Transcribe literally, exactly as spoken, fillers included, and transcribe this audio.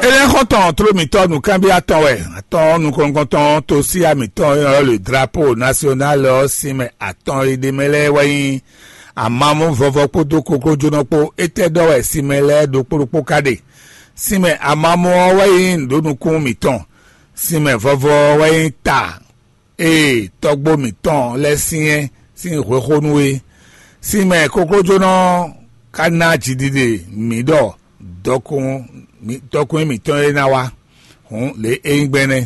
Énɛ́ xɔ́ntɔn tló mǐtɔn nǔkanbyɔ́ atɔn wɛ. Atɔ́ nukɔn-nukɔntɔn tosiya mǐtɔn e nyɔ́ le drapo nasionál ɔ́ sinmɛ atɔn e ɖ'é mɛ lɛ́ɛ wɛ nyí amamú vɔvɔ kpódó koklójónɔ kpó. Étɛ́ ɖɔ wɛ sinmɛ lɛ́ɛ ɖokpó ɖokpó ka ɖe? Sinmɛ amamú ɔ́ wɛ nyí nǔɖonukún mǐtɔn. Sinmɛ vɔvɔ ɔ́ wɛ nyí ta e tɔ́gbó mǐtɔn lɛ́ɛ syɛ́n sín hwexónú é. Sinmɛ koklójónɔ ɔ́ ka ná jiɖiɖe mǐ ɖɔ dɔkun dɔkun mǐtɔn e ná wá. Hǔn lě é nyí gbɛn nɛ́.